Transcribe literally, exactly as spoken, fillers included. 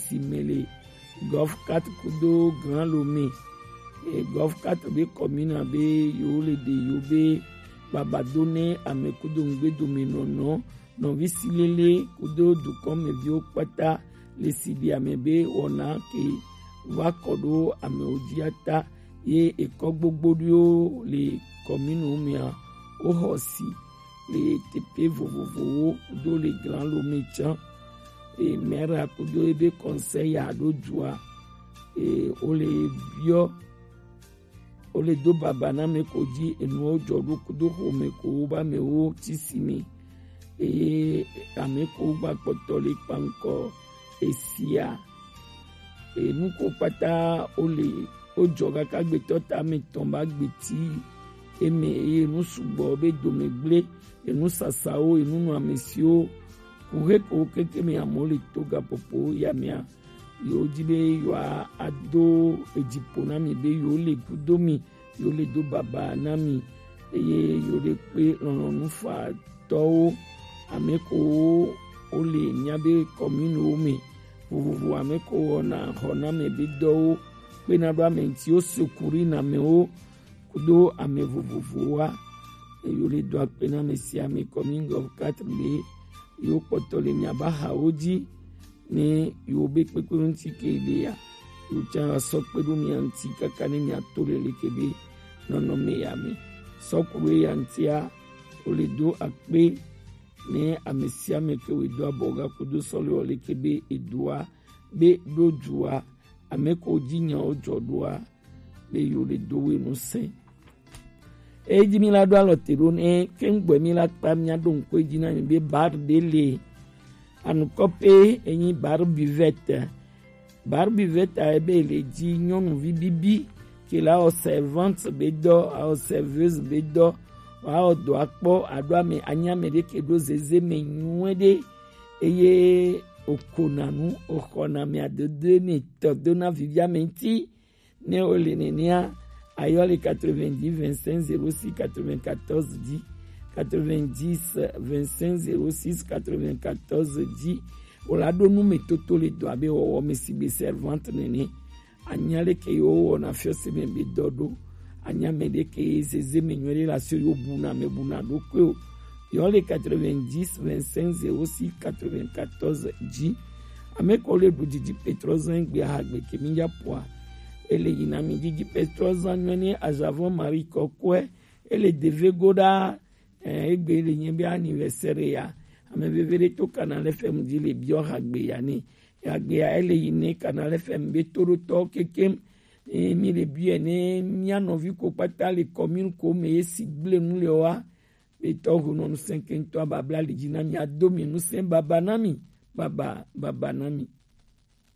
si mɛ le Golf Quatre kudo Grand Lomé. E Golf Quatre be commune be yo le ɖe yo be babado ne ame kudo ŋgbedo me nɔnɔ nɔvi silele kudo dukɔmeviwo kpata le siɖi ame be wɔna ke va kɔ ɖo amewo dzi ata ye ekɔ gbogbo ɖiwo le commune mea woxɔ si le teƒe vovovowo do le Grand Lomé tsã. E maire kudo ebe conseil ya ɖo dua e wole biɔ wole do baba na ame ko dzi enuwo dzɔ ɖo kudo xome ko wo ba amewo tsi si me eye ame ko gba kpɔtɔ le kpankɔ esia enu ko kpata wole wodzɔ kaka gbetɔ ta me tɔn ba gbeti eme eye nu sugbɔ be dome gble enu sasawo enu nɔ ame siwo kuxe ko keke me amewo le to gapopo ya mea yewo di be yewoa ado edziƒo na mi be yewo le kudo mi yewo le do baba na mi eye yewo le kpe lɔlɔ̃nufatɔwo ame ko wo le mia be commune wo me vovovo ame ko wɔna xɔname be dɔwo kpena ɖo ame ŋuti wo secours na amewo kudo ame vovovowoa eye wole do akpe na ame sia ame commune Golf Quatre be yewo kpɔtɔ le miaba hawo dzi ne yewo be kpekpe ŋuti ke le ya yewo tsã asɔ kpe ɖo mia ŋuti kaka ne miato le leke be nɔnɔme ya me sɔkuru ya ŋutia wole do akpe ne ame sia ame ke wòe do abɔ ga kudo sɔle wɔ leke be edoa be ɖo dua ame ko dzi nyawo dzɔ ɖoa be yewo le do we nu sɛ. Eyi dzi mi la ɖo alɔ te ɖo ne keŋgbɔ mi la kpa mia ɖo ŋkɔ dzi na mi be bar ɖe le anukɔ pe enyi bar buvette. Bar buvette a ebe le dzi nyɔnuvi bibi ke la wɔ servante be dɔ, awɔ serveuse be dɔ, awɔ dɔ akpɔ aɖo ame anyi ame ɖe ke ɖo zeze me nyuie ɖe eye okona nu oxɔna ame adodo ne tɔ do na vivi ame ŋuti. Ne wole nenea, ayɔ le quatre-vingt-dix vingt-cinq zéro six quatre-vingt-quatorze dzi, quatre-vingt-dix vingt-cinq zéro six quatre-vingt-quatorze dzi. Wòla ɖo nu me toto le dɔ abe wɔwɔ me si be servante nene. Anya leke yewo wɔna fiɔse me be dɔ ɖo. Anya me ɖe ke zeze me nyuie ɖe la so yewo buna me buna ɖokui o. Yɔ le quatre-vingt-dix vingt-cinq zéro six quatre-vingt-quatorze dzi. Ame ko le ɖu didi petrozan gbe ahagbe ke mi ya poa. Ele yina mi didi petrozan nyuie ne azavɔ mari kɔkɔe. Ele deve go ɖa eh, egbe le nye be anniversaire ya. Ame veve ɖe to Canal F M dzi le biɔ hagbe ya ne. Hagbe ya ele yi ne Canal F M be toɖotɔ kekem. Eh, mi le biɔ ne mia nɔvi ko kpata le commune ko me ye si gble nu le wa. Be tɔ ho nɔ nu sɛnkɛntɔ babla le dzi na mi ado mi nu sɛn baba na mi. Baba, baba na mi.